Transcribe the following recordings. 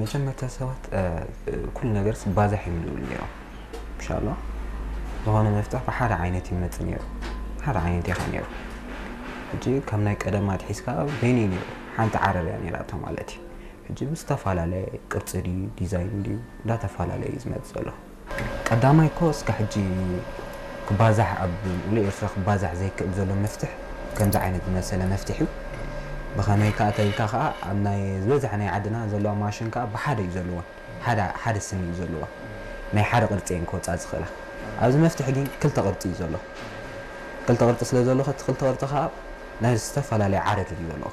መጀመርታ ሰባት ኩሉ ነገር ባዛሕ ይምልኡ ነይሮም። እንሻላ ዝኾነ መፍትሕ ብሓደ ዓይነት ይመፅ ነይሩ፣ ሓደ ዓይነት ይኸ ነይሩ። ሕጂ ካብ ናይ ቀደም ኣትሒዝካ በይነይ ነይሩ፣ ሓንቲ ዓረር እያ ነይራቶ ማለት እዩ። ሕጂ ብዝተፈላለየ ቅርፂ ድዩ ዲዛይን ድዩ እንዳተፈላለየ እዩ ዝመፅ ዘሎ። ቀዳማይ እኮ እስካ ሕጂ ክባዛሕ ኣብ ሙሉእ ኤርትራ ክባዛሕ ዘይክእል ዘሎ መፍትሕ ከምዚ ዓይነት ዝመሰለ መፍትሕ እዩ። ብኸመይ ከኣ ተልካ ከኣ ኣብ ናይ ዝበዝሐ ናይ ዓድና ዘለዋ ማሽን ከኣ ብሓደ እዩ ዘለዋ፣ ሓደ ሓደ ስኒ እዩ ዘለዋ። ናይ ሓደ ቅርፂ እየን ክወፃ ዝኽእላ። ኣብዚ መፍትሕ ግን ክልተ ቅርፂ እዩ ዘሎ። ክልተ ቅርፂ ስለ ዘሎ እቲ ክልተ ቅርፂ ከኣ ናይ ዝተፈላለየ ዓረር እዩ ዘለዎ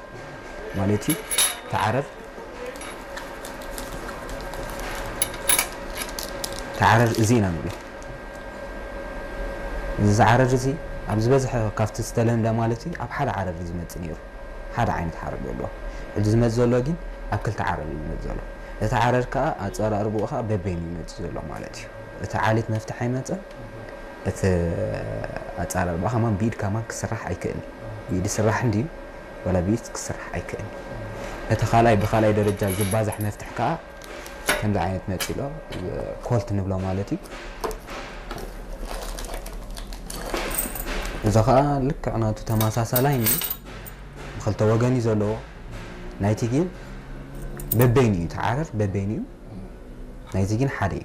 ማለት እዩ። ተዓረር ተዓረር እዚ ኢና ንብሎ። እዚ ዝዓረር እዚ ኣብ ዝበዝሐ ካብቲ ዝተለምደ ማለት እዩ ኣብ ሓደ ዓረር እዩ ዝመፅእ ነይሩ። ሓደ ዓይነት ሓረግ ዘለዎ። ሕጂ ዝመፅ ዘሎ ግን ኣብ ክልተ ዓረር እዩ ዝመፅ ዘሎ። እቲ ዓረር ከዓ ኣፀራርብኡ ከዓ በበይኑ ይመፅ ዘሎ ማለት እዩ። እቲ ዓሌት መፍትሕ ኣይመፀን። እቲ ኣፀራርባ ከማን ብኢድ ከማን ክስራሕ ኣይክእልን። ብኢድ ስራሕ እንድዩ፣ ወላ ብኢድ ክስራሕ ኣይክእልን። እቲ ካልኣይ ብካልኣይ ደረጃ ዝባዛሕ መፍትሕ ከዓ ከምዚ ዓይነት መፂ ኣሎ፣ ኮልት ንብሎ ማለት እዩ። እዚ ከዓ ልክዕ ናቱ ተመሳሳላይ እዩ። ብክልተ ወገን እዩ ዘለዎ። ናይቲ ግን በበይኑ እዩ፣ ተዓረር በበይኑ እዩ። ናይቲ ግን ሓደ እዩ።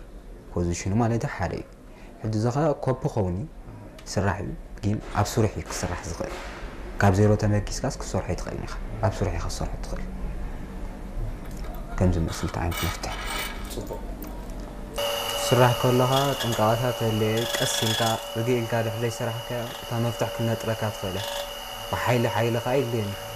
ፖዚሽኑ ማለት ሓደ እዩ። ሕጂ እዚ ከዓ ኮፒ ኸውን እዩ፣ ስራሕ እዩ፣ ግን ኣብ ስሩሕ እዩ ክስራሕ ዝኽእል። ካብ ዜሮ ተመኪስካስ ክሰርሖ ይትኽእል ኢኻ። ኣብ ስሩሕ ኢኻ ክሰርሖ ትኽእል። ከም ዝመስል ዓይነት መፍትሕ። ፅቡቅ። ስራሕ ከለኻ ጥንቃቐታት ተለየ ቀስ ኢልካ ርግእ ኢልካ ድሕሪ ዘይሰራሕካዮ እታ መፍትሕ ክነጥረካ ትኽእል እያ። ብሓይሊ ሓይሊ ከዓ የድልየን እዩ።